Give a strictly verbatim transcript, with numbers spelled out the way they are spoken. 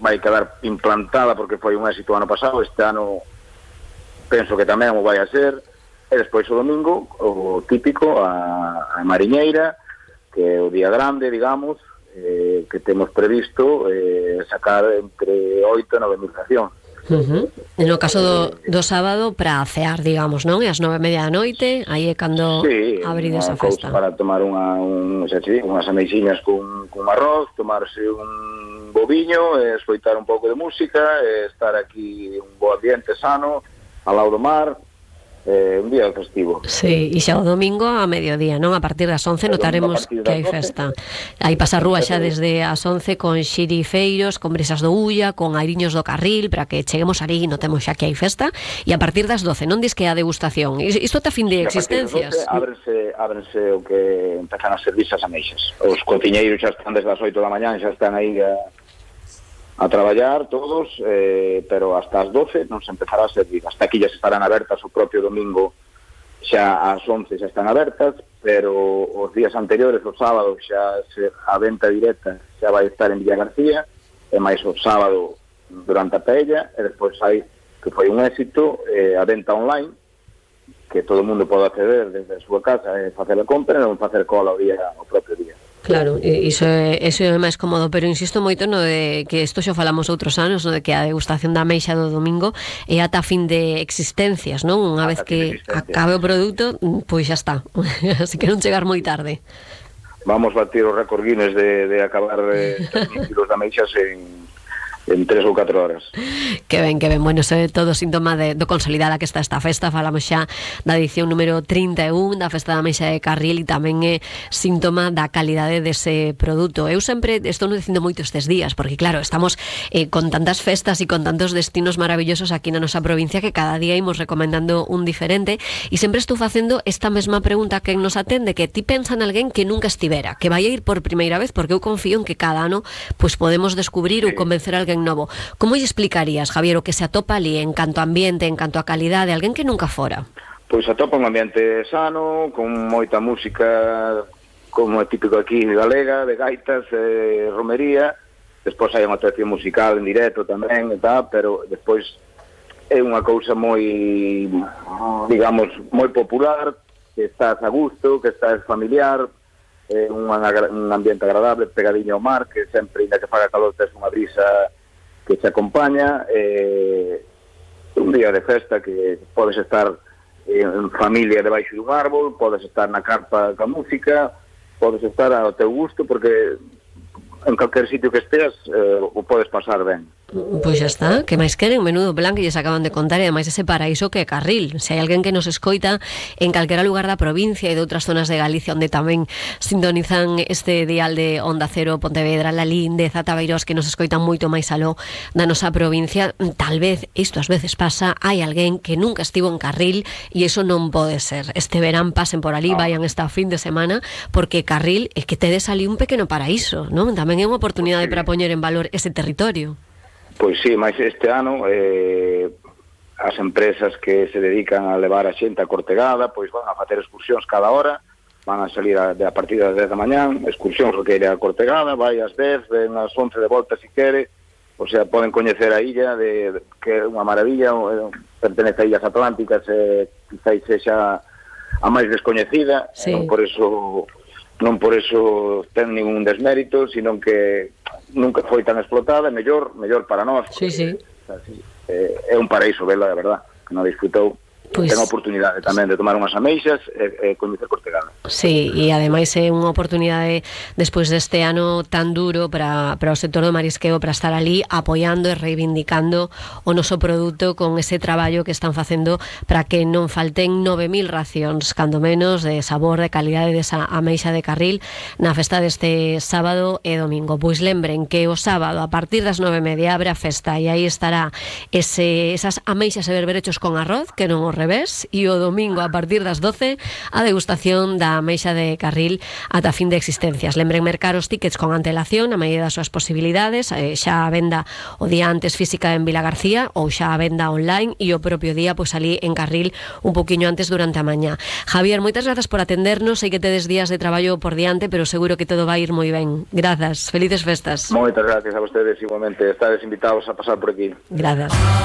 vai quedar implantada porque foi un éxito ano pasado, este ano penso que tamén o vai a ser, e despois o domingo, o típico, a, a Mariñeira, que é o día grande, digamos, eh, que temos previsto eh, sacar entre oito e nove mil racións. Uh-huh. No caso do, do sábado para cear, digamos, non? E as nove e media da noite, aí é cando sí, abrides a festa. Para tomar unha, un, xa te digo, unhas ameixiñas con, con arroz, tomarse un boviño, e escoitar un pouco de música, e estar aquí un bo ambiente sano, ao lado do mar, eh, un día festivo. Sí, e xa o domingo a mediodía, non? A partir das once notaremos que hai festa. Aí pasa a rúa xa desde as once con xirifeiros, con brisas do Ulla, con airiños do Carril, para que cheguemos ali e notemos xa que hai festa, e a partir das doce, non dis que a degustación. Isto está a fin de existencias. Ábrense, ábrense o que empezan a servirse as ameixas. Os cociñeiros xa están desde as oito da mañá, xa están aí a a traballar todos, eh, pero hasta as doce non se empezará a servir. As taquillas estarán abertas o propio domingo, xa ás once xa están abertas, pero os días anteriores, os sábados, xa se, a venta directa xa vai estar en Villa García, e máis o sábado durante a paella, e despois hai, que foi un éxito, eh, a venta online, que todo o mundo pode acceder desde a súa casa e facer a compra e non facer cola o día, o propio día. Claro, iso é, iso é máis cómodo, pero insisto moito no de que isto xa falamos outros anos, no de que a degustación da ameixa do domingo é ata fin de existencias, non? Unha vez que acabe o produto, pois xa está. Así que non chegar moi tarde. Vamos batir os récord Guinness de, de acabar eh, tres mil kilos de ameixas en en tres ou catro horas. Que ben, que ben, bueno, iso é todo síntoma de, do consolidada que está esta festa. Falamos xa da edición número trinta e un da Festa da Ameixa de Carril, e tamén é síntoma da calidade dese produto. Eu sempre estou no dicindo moito estes días, porque claro, estamos eh, con tantas festas e con tantos destinos maravillosos aquí na nosa provincia que cada día imos recomendando un diferente, e sempre estou facendo esta mesma pregunta que nos atende, que ti pensa en alguén que nunca estivera, que vai a ir por primeira vez, porque eu confío en que cada ano pues podemos descubrir ou convencer a alguén novo. Como lle explicarías, Javier, o que se atopa ali en canto a ambiente, en canto a calidade, alguén que nunca fora? Pois atopa un ambiente sano, con moita música, como é típico aquí galega, de gaitas, eh, romería, despois hai unha actuación musical en directo tamén, e tal, pero despois é unha cousa moi, digamos, moi popular, que estás a gusto, que estás familiar, é un, un ambiente agradable, pegadiño ao mar, que sempre, ainda que faga calor, tes unha brisa que te acompaña, eh, un día de festa que podes estar en familia debaixo dun árbol, podes estar na carpa ca música, podes estar ao teu gusto, porque en calquer sitio que esteas eh, o podes pasar ben. Pois xa está, que máis queren, menudo plan que lles acaban de contar, e ademais ese paraíso que é Carril. Se hai alguén que nos escoita en calquera lugar da provincia e de outras zonas de Galicia onde tamén sintonizan este dial de Onda Cero, Pontevedra, Lalín, de Zatabeirós, que nos escoitan moito máis aló da nosa provincia, tal vez, isto ás veces pasa, hai alguén que nunca estivo en Carril, e iso non pode ser. Este verán pasen por ali, vayan esta fin de semana, porque Carril é que tedes ali un pequeno paraíso, non? Tamén é unha oportunidade para poñer en valor ese territorio. Pois sí, máis este ano eh, as empresas que se dedican a levar a xente a Cortegada pois van a facer excursións cada hora, van a salir a, de, a partir das dez da mañán, excursións que queire a Cortegada, vai ás dez, ven ás once de volta se quere, o sea, poden coñecer a illa, de, de, que é unha maravilla, eh, pertenece a Illas Atlánticas, e eh, quizás sexa a máis descoñecida, sí. non por eso non por eso ten ningún desmérito, sino que nunca foi tan explotada, mellor mellor para nós. Sí, sí. É, é un paraíso vela, de verdad, que non disfrutou. Pues, ten a oportunidade tamén de tomar unhas ameixas e, e coñecer Cortegada. Sí, e ademais é unha oportunidade despois deste ano tan duro para, para o sector do marisqueo, para estar ali apoiando e reivindicando o noso produto con ese traballo que están facendo para que non falten nove mil racións, cando menos, de sabor, de calidade desa ameixa de Carril na festa deste sábado e domingo. Pois lembren que o sábado a partir das nove e media abre a festa, e aí estará ese, esas ameixas e berberechos con arroz, que non os revés, e o domingo a partir das doce a degustación da ameixa de Carril ata fin de existencias. Lembren mercar os tickets con antelación na medida das súas posibilidades, eh, xa a venda o día antes física en Vila García ou xa a venda online e o propio día pois ali en Carril un poquinho antes durante a mañá. Javier, moitas grazas por atendernos, sei que tedes días de traballo por diante, pero seguro que todo vai ir moi ben. Grazas, felices festas. Moitas gracias a vostedes, igualmente, estades invitados a pasar por aquí. Grazas.